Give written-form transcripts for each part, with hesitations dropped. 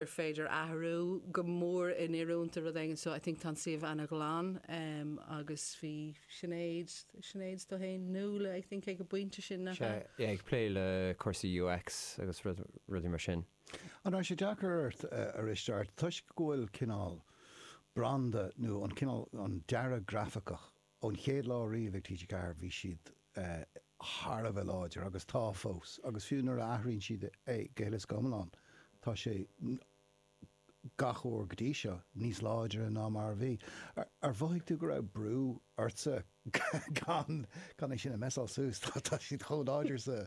Féidir athrú go mór in-oiriúint do rud éigin so I think tá an suíomh ana-ghlan agus bhí Sinéad, Sinéad tú féin, Nuala I think ag an bpointe sin nach ea? Sea, ag plé le cúrsaí UX agus rudaí mar sin. An raibh sé deacair ort, a Risteárd, toisc go bhfuil cineál branda nó an cineál, an dearadh grafaiceach ón chéad lá riamh ag TG4 bhí siad thar a bheith láidir agus tá fós agus fiú nuair a athraíonn siad é go huile is go hiomlán tá sé gach uair go dtí seo níos láidre ná mar a bhí. Ar mhothaigh tú go raibh brú ortsa gan gan é sin a mhessáil suas? Tá siad chomh láidir sa.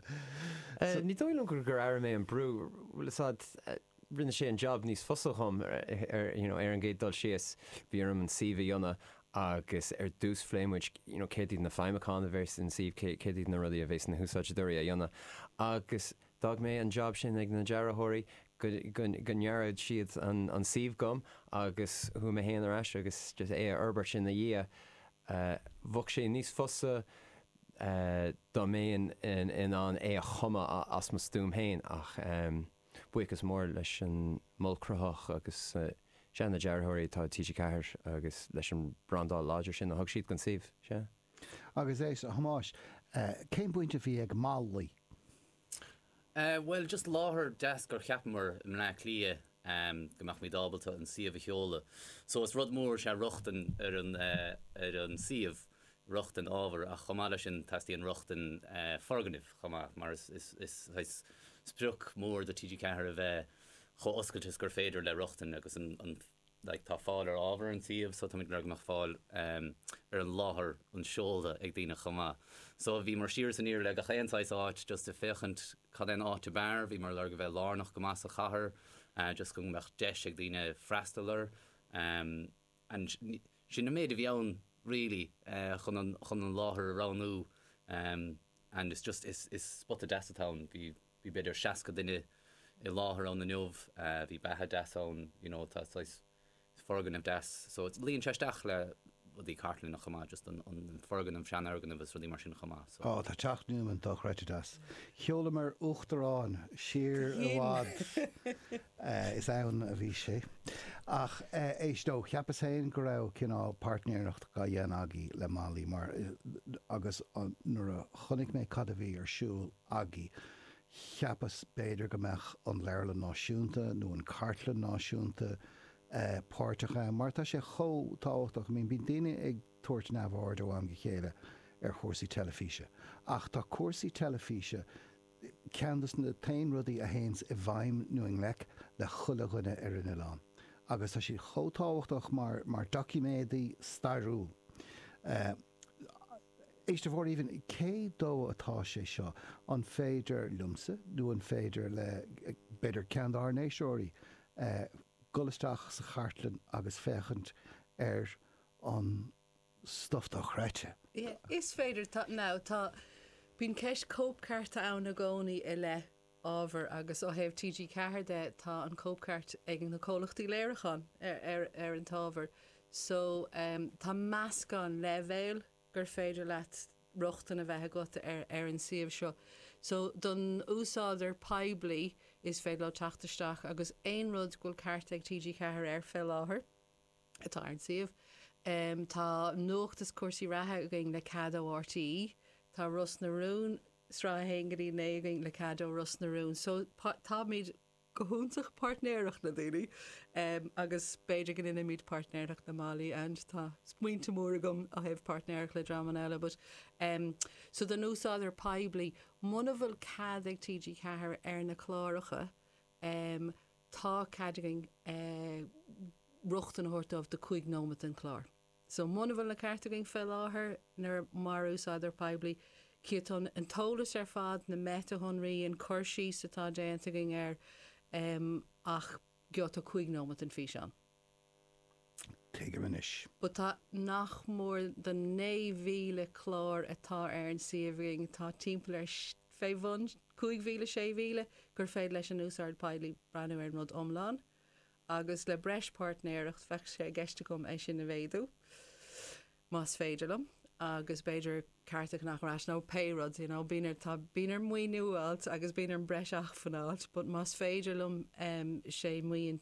Ní dóigh liom gur airigh mé an brú, bhfuil fhios a'd, rinne sé an job níos fusa dhom ar you know ar an gcéad dul síos. Bhí orm an suíomh a dhéanamh agus ar dtús phléigh muid you know céard iad na feidhmeacháin a bheas an suíomh, céard iad na rudaí a bheas na húsáideoirí a dhéanamh agus d'fhág mé an job sin ag na dearthóirí go go go ndearfadh siad an an suíomh dhom agus chuaigh mé féin ar ais agus just é a fhorbairt ina dhiaidh. Bheadh sé níos fusa dá mbeinn in ann é a chumadh as mo stuaim féin ach Buíochas mór leis an Mol Cruthaitheach agus sea, na dearthóirí atá i TG4 agus leis an brandáil láidir sin a thug siad don suíomh, sea. Agus éist, a Thomáis, cén bhaint a bhí ag Molly? Bhuel, just láthair deas gur cheapamar i mBleá Cliath go mbeadh muid ábalta an suíomh a sheoladh. So is rud mór is ea rochtain ar an ar an suíomh. rochtain ábhair ach chomh maith leis sin teastaíonn rochtain foirgnimh chomh maith mar is is sprioc mór do TG4 a bheith chomh oscailte is gur féidir le rochtain agus an like tá fáil ar ábhar ar an suíomh so táimid ag lorg go mbeadh fáil ar an láthair an seoladh ag daoine chomh maith. So bhíomar siar is aniar le gach aon saghas áit just ag féachaint cad é an áit ab fhearr, bhíomar ag lorg a bheith lárnach go maith sa chathair just go mbeadh deis ag daoine freastal air. And sin an méid a bhí ann really chun an chun an láthair a roghnú and it's just is is spota deas atá ann. Bhí bhí b'fhéidir 60 duine i láthair ann inniu, bhí beatha deas ann, you know tá saghas foirgneamh deas so it's luíonn sé isteach le rudaí cartlainne chomh maith, just an an foirgneamh, seanfhoirgneamh is rudaí mar sin chomh maith so. Ó, tá Teach Newman dochreidte deas. Sheolamar Uachtarán siar i bhfad. Is ann a bhí sé. Ach éist, ó, cheapas féin go raibh cineál páirtnéireacht dhá dhéanamh agaibh le Molly mar, agus nuair a chonaic mé cad a bhí ar siúl agaibh, cheapas b'fhéidir go mbeadh an Leabharlann Náisiúnta nó an Chartlann Náisiúnta páirteach ann mar tá sé chomh tábhachtach. I mean, bíonn daoine ag tabhairt neamhaird ó am go chéile ar chúrsaí teilifíse ach tá cúrsaí teilifíse, ceann de na t-aon rudaí a théanns i bhfeidhm nó i ngleic le chuile dhuine ar an oileán agus tá siad chomh tábhachtach mar mar doiciméadaí stairiúil. Éist, a Mháire Aoibhinn, cé dó atá sé seo? An féidir liomsa nó an féidir le, b'fhéidir, ceann dár n-éisteoirí dul isteach sa chartlann agus féachaint ar an stuif dochreidte. Yeah, is féidir. Tá, now, tá, bíonn ceist cóipchearta ann i gcónaí i leith ábhair agus ó thaobh TG4 de, tá an cóipcheart ag na comhlachtaí léiriúcháin ar, ar, ar an t-ábhar. So, em, tá meascán leibhéal gur féidir leat rochtain a bheith agat ar, ar an suíomh seo. So, don úsáideoir poiblí, is féidir leo teacht isteach agus aon rud go bhfuil ceart ag TG4 air fé láthair, atá ar an suíomh. Tá nuacht is cúrsaí reatha againn le cead ó RTÉ. Tá Ros na Rún, sraith 1 go dtí 9 againn le cead ó Ros na Rún. So táimid go hiontach páirtnéireach le daoine agus b'fhéidir go ndéanfaimid páirtnéireacht le Molly and tá smaointe mór agam ó thaobh páirtnéireacht le dreamanna eile but so don úsáideoir poiblí, muna bhfuil cead ag TG4 ar na cláracha, Tá cead againn rochtain a thabhairt dóibh do 5 nóiméad den chlár. So muna bhfuil na cearta againn fé láthair nuair mar úsáideoir poiblí, cífidh tú an t-eolas ar fad, na meiteashonraí, an cur síos atá déanta againn air, ach gheobhaidh tú 5 nóiméad den físeán. Tuigim anois. But tá nach mór do 9,000 clár atá ar an suíomh againn, tá timpeall ar fé bhun 5,000, 6,000 gur féidir leis an úsáideoir poiblí breathnú ar an rud iomlán. Agus le breis páirtnéireacht, bheadh sé i gceist agam é sin a mhéadú, más féidir liom. agus b'fhéidir cearta a cheannach ar ais nó pé rud, you know, bíonn ar, tá, bíonn orm maoiniú a fháilt agus bíonn orm breis acmhainn a fháilt but más féidir liom sé maoin.